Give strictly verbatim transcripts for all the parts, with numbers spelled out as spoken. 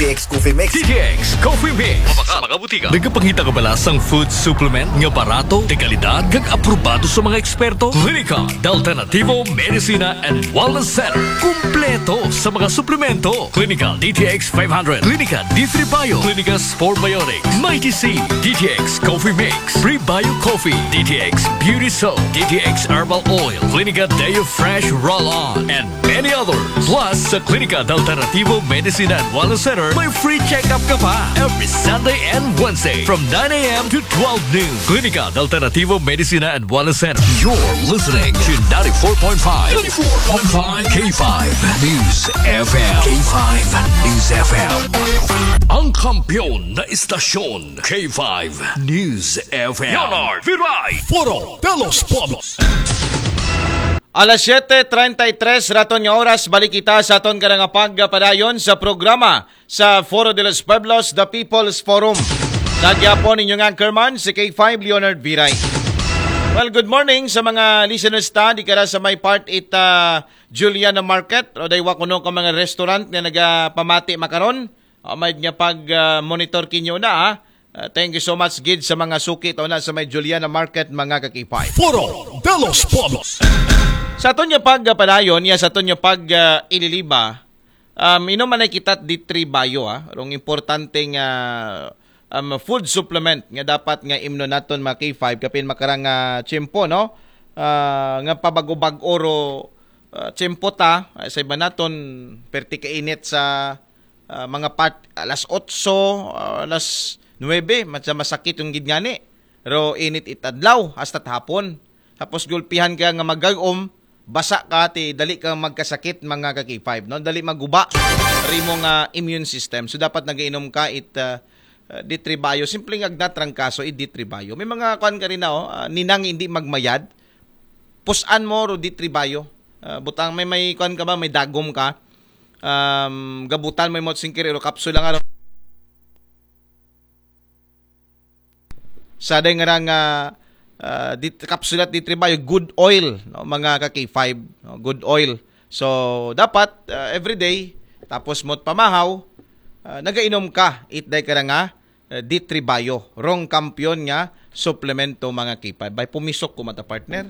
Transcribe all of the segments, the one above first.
T X Coffee Mix. D T X Coffee Mix. Sa mga butika. Nagapangita ka ba sa food supplement nga barato, de kalidad, kag aprobado sa mga eksperto? Klinika de Alternativo Medicina and Wellness Center. Kumpleto sa mga suplemento. Klinika D T X five hundred, Klinika D three Bio, Klinika Spore Biotics, Mighty C, D T X Coffee Mix, Prebio Coffee, D T X Beauty Soap, D T X Herbal Oil, Klinika Deo Fresh Roll-On, and many others. Plus, sa Klinika de Alternativo Medicina and Wellness Center, may free check-up ka pa every Sunday and Wednesday from nine a.m. to twelve noon. Klinika de Alternativo Medicina and Wellness Center. You're listening to ninety-four point five, ninety-four point five K five News F M. K five News F M. Ang kampiyon na istasyon, K five News F M. Leonard Viray. Foro de los Pueblos. Alas siyete treinta y tres raton nga oras, balik kita sa aton karang pagpadayon sa programa sa Foro de los Pueblos, The People's Forum. Sa gyapon, inyong anchorman, si K five Leonard Viray. Well, good morning sa mga listeners ta di kara sa may part it uh, Juliana Market o daywa kuno ka mga restaurant nga nagapamati makaron. Uh, may nga pag uh, monitor kinyo na ha. Uh, thank you so much gid sa mga suki to na sa may Juliana Market, mga kakipay. Foro de los Pueblos. Sa aton nga pagpadayon, ya sa aton nga pag uh, ililiba, um, inom man ay kita di tribayo ha. Rong importante nga um, food supplement nga dapat nga imno naton mga K five kapin makarang uh, tiyempo, no? Uh, nga pabago-bago ro uh, tiyempo ta uh, sa iba naton perti kainit sa uh, mga part alas otso, uh, alas nuebe, mas masakit yung gid ngani. Pero init it adlaw hasta hapon. Tapos gulpihan ka nga magagom, basa ka ti dali ka magkasakit mga ka K five, no? Dali maguba rimo nga immune system. So dapat nagainom ka it uh, uh, D three Bio. Simple nga agna trangkaso it D three Bio. May mga kuan ka rin na, oh, uh, ninang hindi magmayad. Pusan mo ro D three Bio. Uh, butang may may kuan ka ba, may dagom ka. Um, gabutan mo imot singkir ro kapsula nga ro. Sa day nga ra nga uh, dit, kapsulat di tribayo, good oil, no, mga ka K five, no, good oil. So dapat uh, everyday tapos mo't pamahaw, uh, nagainom ka, it day ka ra nga uh, di tribayo, rong kampiyon nga suplemento mga K five. Bay pumisok ko mata partner.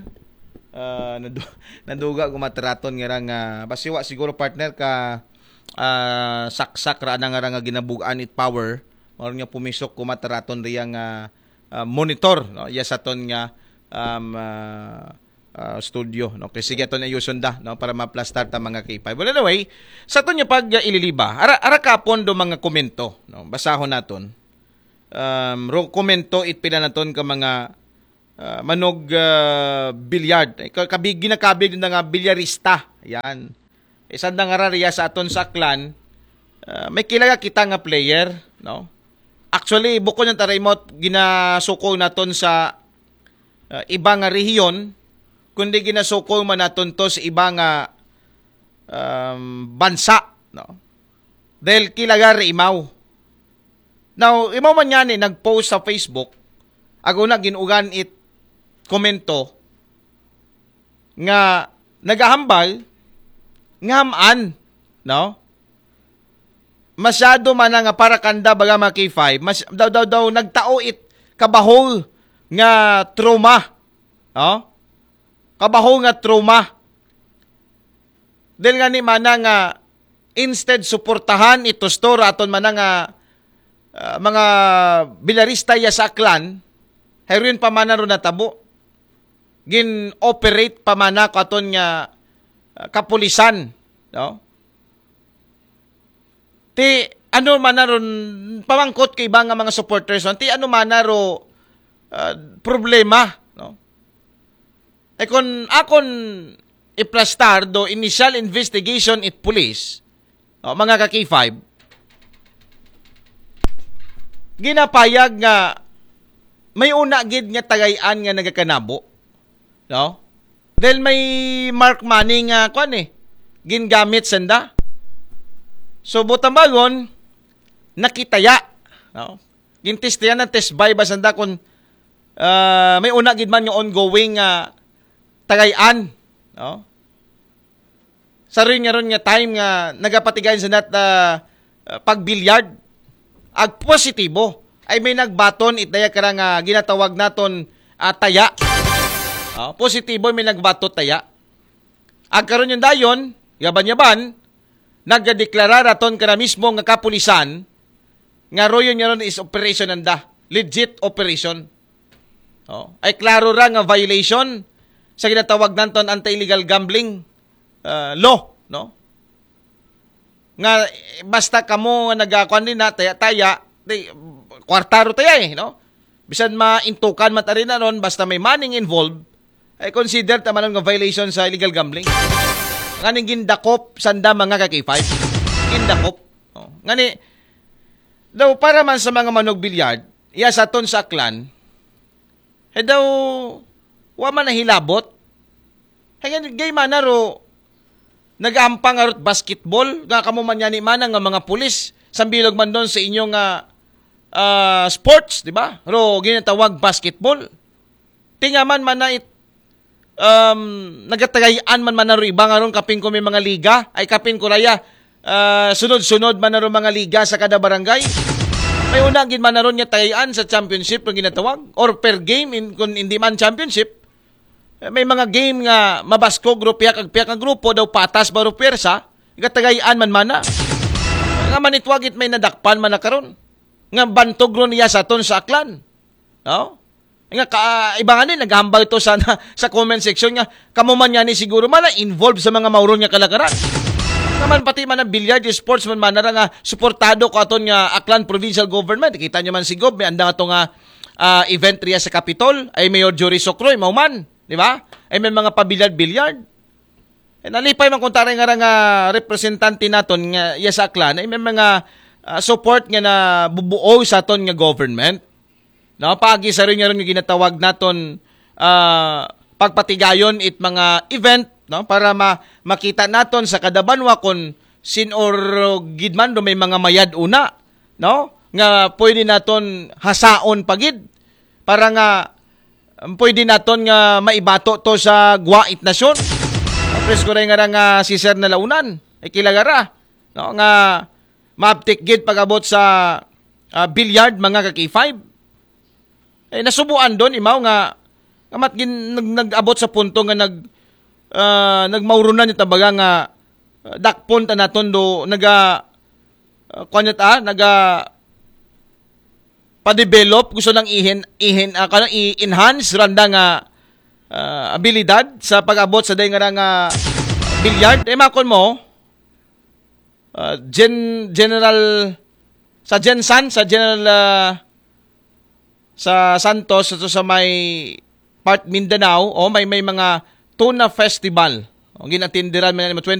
Uh, nadu- naduga ko mataraton nga ra nga basiwa siguro partner ka uh, saksak ra na nga ra nga ginabugaan it power. Mao nga pumisok ko mataraton riya nga uh, monitor, no, iya sa ton nga um, uh, uh, studio, no, kay sige aton ayuson da, no, para maplastar ta mga K five. Well, anyway, sa ton nga pag uh, ililiba ara, ara kapon do mga komento, no, basahon naton. Um, ro komento it pila naton ka mga uh, manog uh, billiard. Kabig ginakabig na nga bilyarista. Yan. Isang nga rariya sa aton sa Aklan, uh, may kilaga kita nga player, no? Actually, bukod ng tarimot, ginasukol naton sa uh, iba nga rehiyon, kundi ginasukol man naton to sa iba nga um, bansa, no? Dahil kilaga ri imaw. Now, imaw man nga ni nag-post sa Facebook, ako na ginugan it komento nga nagahambal nga hamaan, no? Masyado man nga para kanda baga mga K five, mas daw daw daw nagtao it kabahol nga trauma, no? Kabahol nga trauma. Dahil nga ni mana nga instead suportahan ito store aton mana nga uh, mga bilarista ya sa Aklan, heroin pa mana ro natabo. Gin-operate pa mana ko aton nga uh, kapulisan, no? Ti ano mana ron pamangkot kay iba nga mga supporters, no? Ti ano mana ro uh, problema, no? E kon akon iplastar do initial investigation it police, no, mga ka K five, ginapayag nga may una gid nga tagay-an nga nagakanabo, no? Dahil may mark money nga kwan eh, gingamit sanda. So butambagon, nakitaya, no? Gintistiyan ng test buy ba sanda kung uh, may una gid man nga ongoing nga uh, tagay-an, no? Sa rin nga ron nga time nga nagapatigayon sa nat uh, ah, pag-billiard, ag positibo. Ay may nagbaton itaya kara nga ginatawag naton, ah, taya. Ah, positibo may nagbato taya. Ag karon yung dayon, yaban-yaban, nagdeklara raton kana mismo nga kapulisan nga royon niya ron is operation nanda, legit operation. Oh, ay klaro ra nga violation sa ginatawag naton anti-illegal gambling, ah, law, no? Nga, eh, basta kamo nga nagakuan din na taya-taya, di, kwarta ro taya eh, no? Bisan maintukan man ta rin na ron, basta may money involved, ay consider ta man nga violation sa illegal gambling. Ngani gindakop sanda mga ka-K five. Gindakop. Oh. Ngani, daw para man sa mga manog-billiard, iya sa aton sa Aklan, eh daw, wa man nahilabot. Hanggang gay man na ro, nagahampang arot basketball, nga kamo man yani man nga mga pulis, sambilog man doon sa inyo nga, ah, sports, di ba? Ro, ginatawag basketball. Tingaman man na it, um, nagatagayan man man na ro iba nga ron kapin ko may mga liga, ay kapin ko raya, ah, sunod-sunod man na ro mga liga sa kada barangay. May una gid man na ron nga tagayan sa championship nga ginatawag or per game in, kung hindi man championship. Eh, may mga game nga mabaskog ro piyak ag piyak nga grupo daw patas ba ro pwersa, gatagayan man man na. Nga manitwagit may nadakpan man na karon. Nga bantog ro niya sa aton sa Aklan. No? Nga ka, iba nga ni, naghambal to sa, sa comment section nga, kamo man yan ni siguro man na involved sa mga mauron nga kalakaran. Naman pati man ang billiard, sports man man na nga suportado ko aton nga Aklan Provincial Government. Kita nyo man si Gob, may andang ato nga, ah, event riya sa Capitol, ay Mayor Jory Socroy, mauman, di ba? Ay may mga pabilyard-bilyard. Eh, nalipay man kung taray nga ra nga representante naton nga iya sa Aklan, ay may mga, ah, support nga na bubuo sa aton nga government. No, paagi sa rin nga ron nga ginatawag naton, ah, pagpatigayon it mga event, no, para ma-, makita naton sa kada banwa kung sin-o gid man do may mga mayad una, no, nga pwede naton hasaon pa gid para nga, um, pwede naton nga maibato to sa gwa it nasyon. Presko ray nga ra nga si Sir Nalaunan, ikilagara, no, nga maabtik gid pag-abot sa, ah, billiard, mga ka-K five. Eh, nasubuan doon, imaw nga, nga mat gin-, nag-, nag-abot sa punto nga nag-, ah, nagmaurunan yung tabaga nga, ah, dakpon ta naton do, naga, ah, kuwan niya ta, naga, pa-develop, gusto nang ihin, ihin, ah, kanang i-enhance randa nga, ah, abilidad sa pag-abot sa day nga ra nga billiard. Eh, makon mo, ah, Gen-, General, sa Gensan, sa General, ah, sa Santos, ito sa may part Mindanao, o may, may mga tuna festival. O, ginatindiran man yan,